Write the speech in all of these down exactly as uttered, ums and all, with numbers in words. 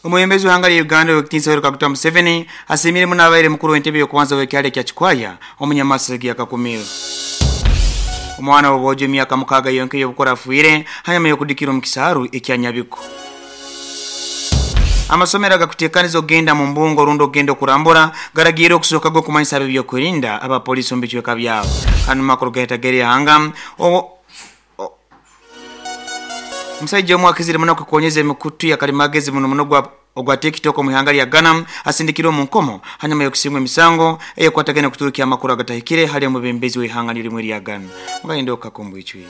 Omwebembezi w'ihanga lya Uganda ow'ekitiinisa Yoweri Kaguta Museveni asiimire muno abaire mukuru w'entebe y'okubanza w'ekyalo ekya Kikwaya omunyamasege Kakumiro. Omwana w'obwojo emyaka mukaaga yonka ey'obukura afiire hanyuma y'okudikira omu kisaaru ekya Nyabiko. Amasomero agakuteekaniza okugenda mu mbungo rundi okugenda okurambura garagiire okusooka g'okumanyisa ab'ebyokwerinda abapoliisi omu bicweka byabo. Hanu makuru gahetagere ihanga omusaija omwe akizire muno kukonyeza emikutu ya kalimagezi muno muno gwa ogwa TikTok omu ihanga lya Ghana asindikirwe omu nkomo hanyuma y'okusingwa emisango eyekwatagana okuturukia amakuru agatahikire hali omubembezi w'ihanga nirimwe lya Ghana. Mugayende okakumbwicwi.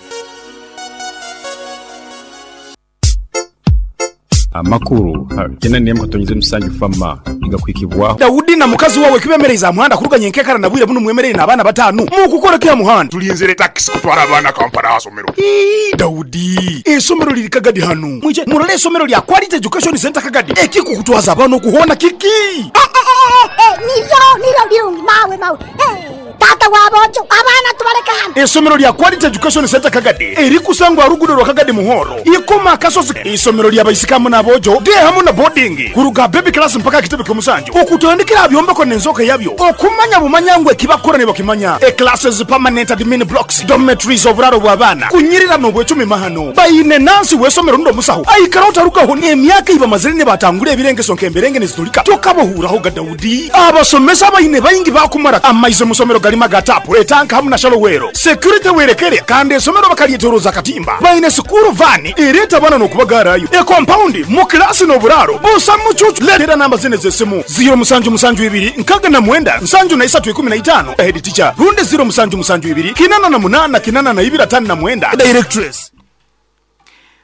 Amakuru tena nemu katonyize musanju fama igakwikibwaho Daudi na mukazi wawe kibemereza muhanda kuruganya enkekara na bwire buno mwemerere n'abaana batanu mukukora kya muhanda tulinzire taxi kutwara abaana Kampala asomero. Ii Daudi esomero liri Kagadi hanu mwije murole esomero lya Quality Education Center Kagadi ekikukutwaza abaana okuhona kiki eh, eh, eh, niryo niryo birungi mawe mawe eh. Tata wabojo abaana tubaleka hano. Esomero lya Quality Education Center Kagadi erikusangwa rugudo rwa Kagadi Muhoro ikoma akasozi. Isomero lya baisikamu n'abojo de hamu na boarding kuruga baby class mpaka kitebe ky'omusanju okutandikira byombeko n'enzoka yabyo okumanya bumanyangwe kibakora ne bakimanya e classes permanent admin blocks dormitories oburaro bw'abaana kunyirira n'obwecumi mahano bayine nansi w'esomero ndo musaho aikara otarugaho n'emyaka ibamazire ne batangura ebirengeso nk'emberenge nezitulika tokabohuraho ga Daudi abasomesa bayine bayingi bakumara amaize musomero galima gatapu etanka hamu na shalowero security werekere kandi esomero bakalyeteroza katimba bayine sukuru vani ereta bana n'okubagarayo e compound mu klasi n'oburaro busa mucucu letera namba zine z'essimu zero musanju musanju ibiri nkaga na mwenda nsanju na isatu ikumi na itano head teacher runde zero musanju musanju ibiri kinana na munana kinana na ibiri atano na mwenda directress.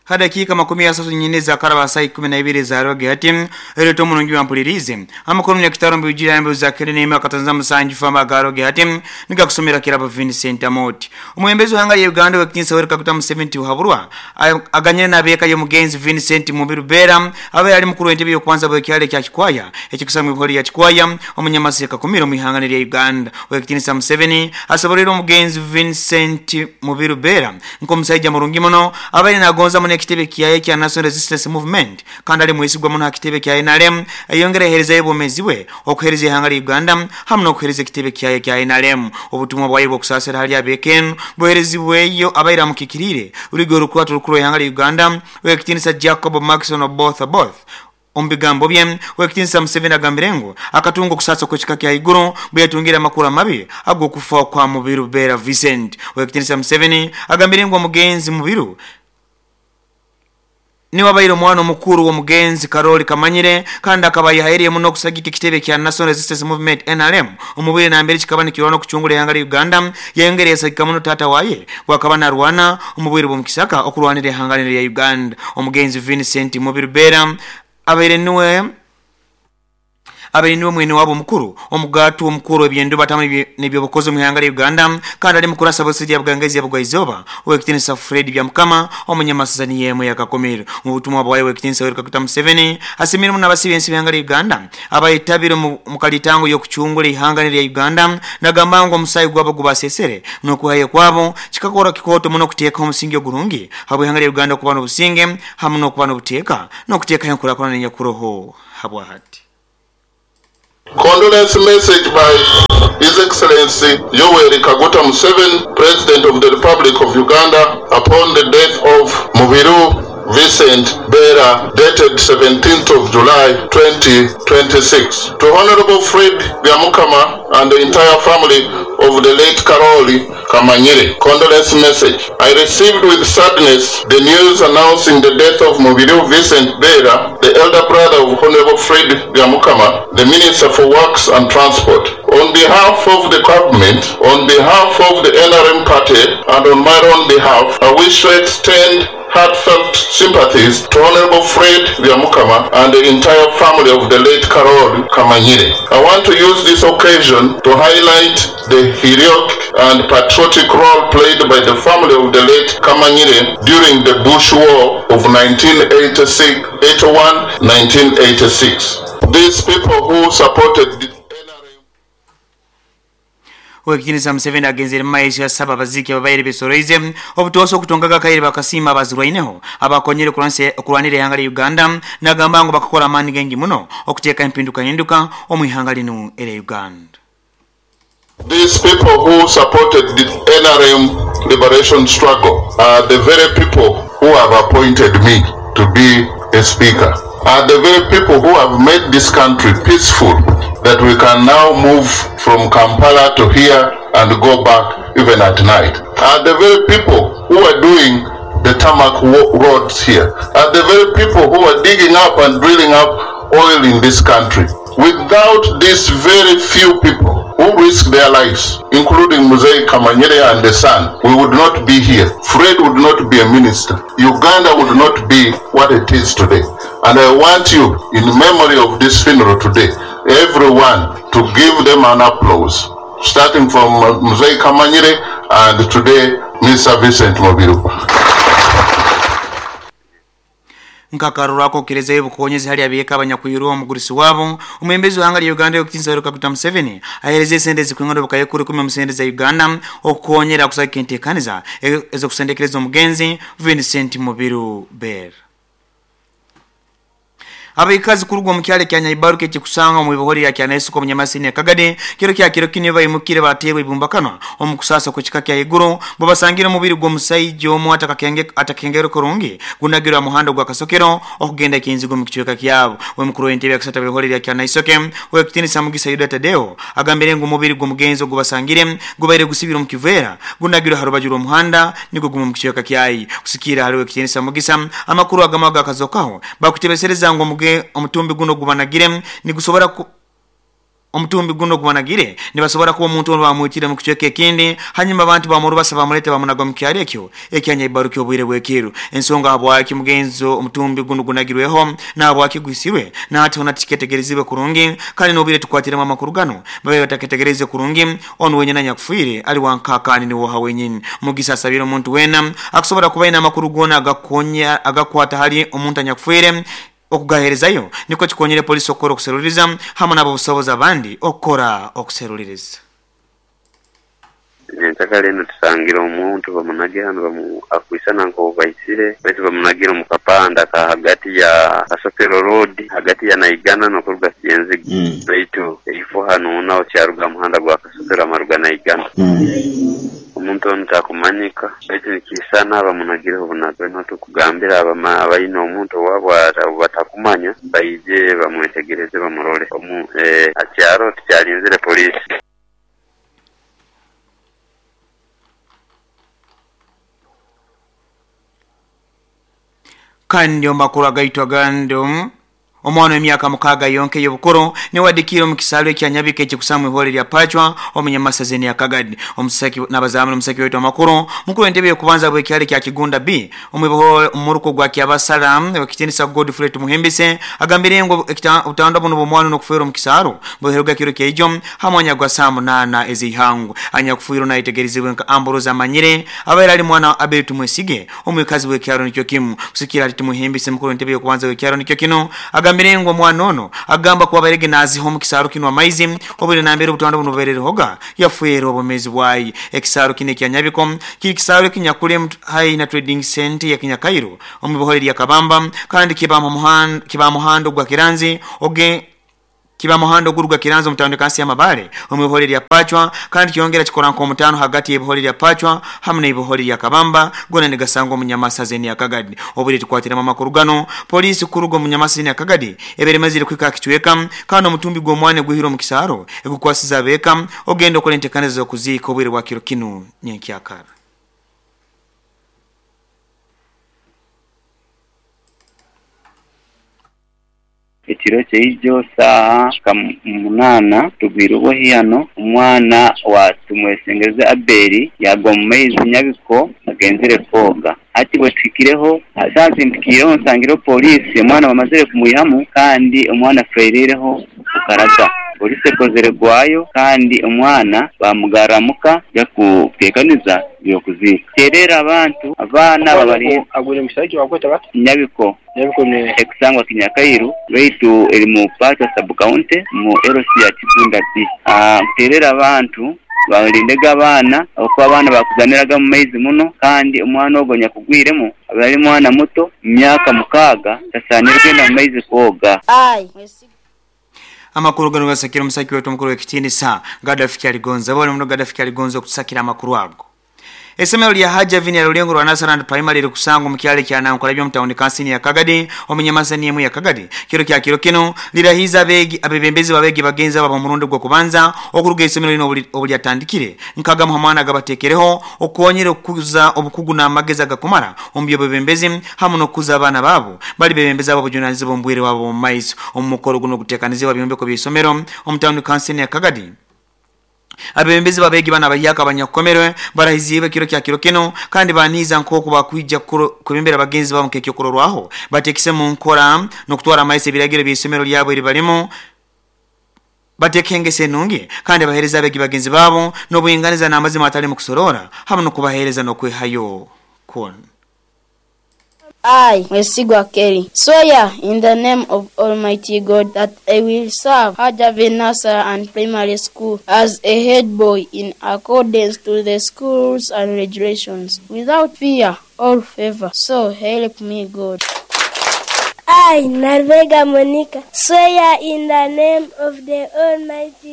Hadakika makumi asatu nyine za karaba saa ikumi na ibiri za roge hati ereto mulungi wampulirize amakuru ya kitaro mbujira mbu za kere neema katanza musanju fama garoge hati nigakusomera kirabo Vincent Amoti. Omwembezi w'ihanga lya Uganda w'ekitiinisa Yoweri Kaguta Museveni uhaburwa aganyire n'abeeka y'omugenzi Vincent Mubiru Bera abe ali mukuru w'entebe y'okubanza bw'ekyalo ekya Kikwaya ekikusangwa ibihori ya Kikwaya omunyamaseka Kakumiro mu ihanga lya Uganda. W'ekitiinisa Museveni asobolera omugenzi Vincent Mubiru Bera nk'omusajja mulungi muno abaire nagonza muno ekitebe kyaye kya National Resistance Movement kandi ali mwesigwa muno akitebe kya N R M ayongera ehereza y'obwomezi bwe okuhereza ihanga lya Uganda hamwe n'okuhereza ekitebe kyaye kya N R M. Obutumwa bwaye bw'okusaasira hali ab'ekenu buherezibweyo abaire amukikirire uligo orukwato rukuru ihanga lya Uganda w'ekitiinisa Jacob Maxon Oboth Oboth. Omu bigambo bye w'ekitiinisa Museveni agambire ngu akatunga okusasa kw'ekika kya iguru bwe yatungira amakuru amabi ag'okufa kwa Mubiru Bera Vincent. W'ekitiinisa Museveni agambire ngu omugenzi Mubiru niwe abaire omwana omukuru w'omugenzi Karoli Kamanyire kandi akaba yahairiye muno okusagika ekitebe kya National Resistance Movement N R M omubwire nambere kikaba nikirwana okucungura ihanga lya Uganda yayongera yasagika muno taata waye bwakaba narwana omubwire bw'omukisaka okurwanira ihanga lya Uganda. Omugenzi Vincent Mubiru Bera abaire niwe abaire niwe mwene wabo mukuru omugatu omukuru ebyendo batamu n'ebyobukozi mu ihanga lya Uganda kandi ali mukuru asabosiri ya Bugangaizi ya Bugwaizoba ow'ekitiinisa Fred Byamukama omunyamasazani yemwe yakakomero. Mu butumwa bwaye ow'ekitiinisa Yoweri Kaguta Museveni asimire muno abasibe ensi b'ihanga lya Uganda abayetabire mu kalitango y'okucungura ihanga lya Uganda nagamba ngu omusayi gwabo gubasesere n'okuhayo kwabo kikakora kikooto muno okuteeka omusingi ogurungi habw'ihanga lya Uganda okuba n'obusinge hamu n'okuba n'obuteeka n'okuteekayo enkurakurana enyakuroho habwahati. Condolence message by His Excellency Yoweri Kaguta Museveni, President of the Republic of Uganda, upon the death of Mubiru Vincent Bera, dated seventeenth of July twenty twenty-six. To Honorable Fred Byamukama and the entire family of the late Karoli Kamanyire, condolence message. I received with sadness the news announcing the death of Mubiru Vincent Bera, the elder brother of Honorable Fred Byamukama, the Minister for Works and Transport. On behalf of the government, on behalf of the N R M party, and on my own behalf, I wish to extend heartfelt sympathies to Honorable Fred Byamukama and the entire family of the late Karoli Kamanyire. I want to use this occasion to highlight the heroic and patriotic role played by the family of the late Kamanyire during the Bush War of nineteen eighty-six, eighty-one, nineteen eighty-six. These people who supported the Owekitinisa Museveni agenzere mumaiso yasaba abaziki ababaire besoroize obutosa okutongaga kaire bakasiima abazirwaineho abakonyere okurwanira ihanga lya Uganda nagamba ngu bakakora amaani gengi muno okuteeka empinduka hinduka omu ihanga linu erya Uganda. These people who supported the N R M liberation struggle are the very people who have appointed me to be a speaker, are the very people who have made this country peaceful, that we can now move from Kampala to here and go back even at night, are the very people who are doing the tarmac roads here, are the very people who are digging up and drilling up oil in this country. Without these very few people who risk their lives, including Mzee Kamanyere and the son, we would not be here. Fred would not be a minister. Uganda would not be what it is today. And I want you, in memory of this funeral today, everyone to give them an applause, starting from Mzee Kamanyere and today, Mister Vincent Mubiru. Nkakarurako kireza ebukonyezi hali abiyeka abanyakwirwa omugurisi wabo omwembezi w'ihanga lya Uganda Owekitinisa Yoweri Kaguta Museveni ahereza esente zikwingana obukayekuru kumi omu za Uganda okukonyera kusaka enteekaniza ez'okusendekereza omugenzi Vincent Mubiru Ber. Abikazi kurugwa mu kyalo kya Nyaibaruke kikusanga mu bihori ya Kyanesuko mu Nyamasini Kagade kiro kya kiro kine bayimukire batewe ibumbakano omukusasa ku kika kya iguru bo basangira mubiri gwo musaijo omu atakakenge atakengero kurungi gunagira muhando gwa kasokero okugenda kinzigo mu kichweka kyabo we mukuru w'entebe yakasata bihori ya Kyanaisoke we kitinisa Mugisa Yuda Tadeo agambire ngo mubiri gwo mugenzo gubasangire gubaire gusibira mu kivera gunagira harubajura muhanda niko gumu mu kichweka kyayi kusikira haliwe kitinisa Mugisa amakuru agamaga kazokaho bakutebesereza ngo omutumbi guno gubanagire nigusobora ku omutumbi guno gubanagire nibasobora kuba omuntu ono bamwitire mu kichweka ekindi hanyuma abantu bamurubasa bamulete bamunaga mu kyalo ekyo ekyanya ibaruki obwire bwekiru ensonga habwaki mugenzo omutumbi guno gunagirweho nabwaki gwisirwe nati ona tiketegerezibwe kurungi kandi nobire tukwatiremu amakuru gano babe bataketegereze kurungi ono wenyina nyakufiire ali wankakani niwo hawenyini Mugisa asabira omuntu wena akusobora kuba ina amakuru gona agakonya agakwata hali omuntu anyakufiire okugaherezayo niko kikonyere polisi okora okuseruliriza hamwe nabo busobozi abandi okora okuseruliriza. Nyentakale eno tusangira omuntu bamunagira hano bamu akwisana nko baisire baitu bamunagira mu kapanda ka hagati ya Kasokero Road hagati ya Naigana no kuruga Kiyenziga mm. Baitu ifo hano naho kyaruga muhanda gwa Kasokero amaruga Naigana mm. Omuntu ono takumanyika baitu nikisana bamunagireho bunaga no tukugambira abama abayina omuntu wabwo batakumanya baije bamwetegereze bamurole omu eh, akyaro tukyalinzire polisi. Kandi omakuru agaitwa gando omwana w'emyaka mukaaga yonke y'obukuru niwadikira omu kisalo ekya Nyabika ekikusamu ihore lya Pachwa omunyamasazeni ya Kagadi omusaki n'abazamu omusaki waitu amakuru mukuru entebe y'okubanza bw'ekyalo kya Kigunda B omubiho omuruko gwa Kyabasala ekitinisa Godfrey Tumuhembise agambire ngo obutanda buno bw'omwana n'okufeera omu kisalo buheruga kiro kyeijo hamwanya gwa saa munaana ez'ihangu anyakufiirwa nayetegerezibwe nka Ambrose Amanyire abaire ali mwana Abel Tumwesige omwikazi w'ekyalo nikyo kimu kusikira ali Tumuhembise mukuru entebe y'okubanza bw'ekyalo nikyo kino agambire ngo mwana ono agamba kuba barege naziho mu kisaro kino amaizi obure nambere obutanda buno bubererehoga yafuera obumezi bwayi ekisaro kine kya Nyabiko kiri kisaro kinyakule hai na trading center ya Kinyakairo omubiholeri ya Kabamba kandi kiba mu muhanda kiba muhando gwa Kiranzi oge kiba muhando guruga Kiranzi mutando kansi ya Mabale omubiholeri ya Pachwa kandi kyongera kikora nko mutano hagati y'ebiholeri ya Pachwa hamwe n'ebiholeri ya Kabamba gona negasango munyamasazeni ya Kagadi obure tukwatira mama kurugano polisi kurugo munyamasazeni ya Kagadi ebere mazire kwika kichweka kandi omutumbi gw'omwana gwihiro mu kisaro egukwasiza beka ogenda okola entekanizo z'okuziika obwire bwa kiro kinu nyenkyakara. Ekiro kyeijo saaha munana tugwire obuhiyano omwana wa Tumwesengereze Abeli yagwa mu maizi Nyabiko agenzire koga ati bwe tuhikireho asanze nsangireho polisi omwana bamazire kumwihamu kandi omwana afreireho kukaraga polisi ekozere gwayo kandi omwana bamugaramuka yakutekaniza yokuziika terera abantu abaana babali agwire musajja wakweta bati Nyabiko Nyabiko ne ekusangwa Kinyakairu baitu eri mu Pachwa sub county mu L C ya Kigunda B. Ah terera abantu Balindege abaana, okuba abaana bakuzaniraga mu maizi muno, kandi omwana ogwo nyakugwiremu aba ali mwana muto, myaka mukaaga, tasaanire kugenda mu maizi kwoga. I, Amakuru gano gasakira omusaki wetu omukuru w'ekitiinisa Gaddafi Kyaligonza. Bali muno Gaddafi Kyaligonza okutusakira amakuru ago. Essomero lya Hajavini ya Lulengo lwa Nasarand Primary likusangwa mu kyalo kya Nankola byo mutawuni kansini ya Kagadi omunyamasani emu ya Kagadi. Kiro kya kiro kino lirahiza abeegi, abebembezi babeegi bagenzi abo murundi gwo kubanza okuruga essomero lino obulyatandikire nkagamu hamwana gabatekereho okukonyera okukuza obukugu n'amagezi agakumara omu byobebembezi hamu n'okukuza abaana baabo bali bebembezi abo obujunanizibwa omu bwire bwabo omu maiso. Omu mukoro guno oguteekanizibwa byombeko by'essomero omu tawuni kansini ya Kagadi, abebembezi babeegi bana abahyaka abanyakukomerwe barahiziibwe kiro kya kiro kino kandi baniiza nk'oku bakwija kubembera bagenzi babo nk'ekyokurorwaho bateekise mu nkora n'okutwara amaiso ebiragiro by'essomero lyabo eri barimu, bateeka engeso enungi kandi baheereza abeegi bagenzi baabo n'obwinganiza n'amazima atali mu kusorora hamu n'okubaheereza n'okwehayo kwona. I, Mwesigwa Kelly, swear in the name of Almighty God that I will serve Hajavin Nursery and Primary School as a head boy in accordance to the school rules and regulations, without fear or favor. So help me God. I, Narvega Monica, swear in the name of the Almighty